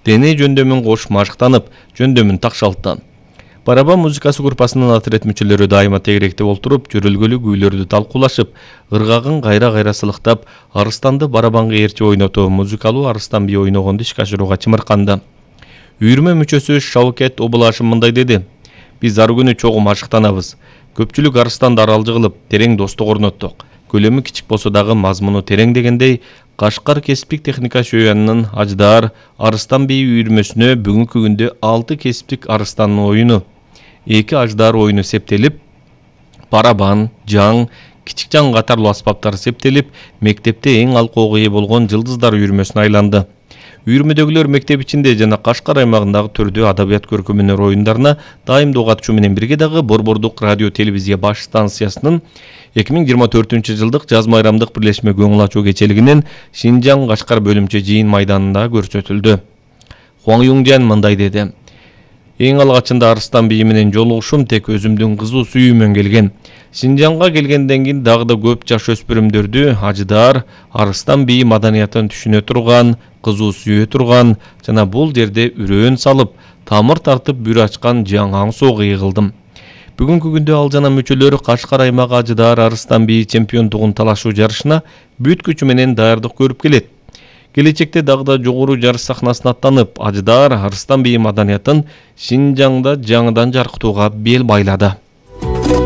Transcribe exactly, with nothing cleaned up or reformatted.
дене жөндөмүн кош машыктанып, жөндөмүн такшалтты. Барабан музыкасы группасынын отряд мүчөлөрү дайыма тегеректеп олтуруп, жөрөлгөлүү күүлөрдү талкуулашып, ыргагын кайра-кайра сылыктап, арыстанды барабанга ээрчи ойнотуу, музыкалуу арыстан бий ойногонду ишке ашырууга чымырканды. Үйүрмө мүчөсү Шавкет Обулашев мындай деди: "Биз ар күнү чогуу машыктанабыз. Көпчүлүк арыстанды аралжы кылып, терең достук орноттук. Көлөмү кичик болсо дагы мазмуну терең" дегендей, Кашкар кесиптик техника шөйянынын Аждар арыстан бий үйүрмөсүнө бүгүнкү күндө алты кесиптик арыстандын оюну, эки аждар оюну септелип, барабан, жаң, кичик жаң катарлуу аспаптар септелип, мектепте эң алкоого ээ болгон Жылдыздар үйүрмөсүнө айланды. Үйүрмөдөгүлөр мектеп ичинде жана Кашкар аймагындагы төрдүү адабият көркөм өнөр оюндарына дайымдуу катышуу менен бирге дагы Борбордук радио телевизия баш станциясынын эки миң жыйырма төртүнчү жылдык жаз майрамдык бирлешме көңүл ачуу кечелигинин Шинжаң Кашкар бөлүмчө жыйын майданында көрсөтүлдү. Хуаң Юңжан мындай деди: "Эң алгачында арыстан бийи менен жолугушум тек өзүмдүн кызуу сүйүүмөн келген. Шинжаңга келгенден кийин дагы да көп жаш өспүрүмдөрдү Аждар арыстан бийи маданиятын түшүнө турган, кызуу сүйө турган жана бул жерде үрөөн салып, тамыр тартып бүр ачкан жаң соого ээ кылдым. Бүгүнкү күндө ал жана мүчөлөрү Кашкар аймагы Аждар арыстан бийи чемпиондугун талашуу жарышына бүт күчү менен даярдык көрүп келет. Келечекте дагы да жогору жарыш сахнасына аттанып, Аждар арыстан бийи маданиятын Шинжаңда жаңыдан жаркытууга бел байлады."